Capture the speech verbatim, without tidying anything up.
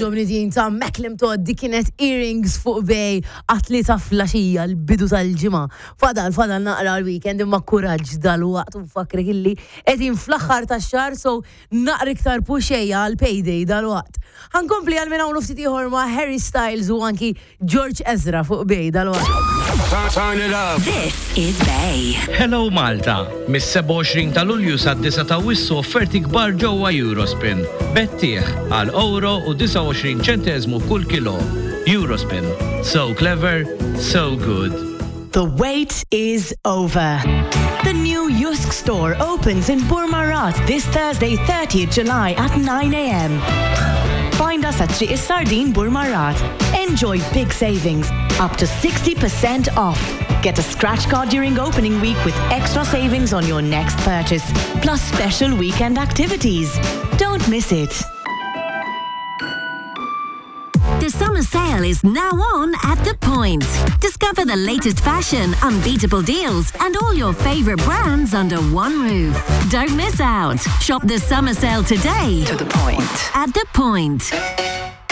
Għoġobni din ta' Macklem Todd, di kienet Earrings fuq Bay, għat-tlieta filgħaxija l-bidu tal-ġimgħa. Fadal, fadal naqra l-weekend imma kuraġġ dal-waqt u nfakkrek illi qegħdin fl-aħħar tax-xahar, so naqra iktar puxejja għal payday dal-waqt. Ħa nkompli għal minn hawn ftit ieħor ma' Harry Styles u anki George Ezra fuq Bay dal-waqt. Turn it up. This is Bay. Hello Malta! Mis-sebgħa u għoxrin ta' Lulju sad-disgħa ta' Awwissu offerti kbar ġewwa Eurospin. Bettieħ għal euro u disgħa u għoxrin ċentesmu kull kilo. Eurospin. So clever, so good. The wait is over. The new JYSK store opens in Burmarrad this Thursday, thirtieth July at nine a m. Find us at Triq is-Sardin, Burmarrad. Enjoy big savings, up to sixty percent off. Get a scratch card during opening week with extra savings on your next purchase, plus special weekend activities. Don't miss it. The summer sale is now on at The Point. Discover the latest fashion, unbeatable deals, and all your favorite brands under one roof. Don't miss out. Shop the summer sale today. To the point. At The Point.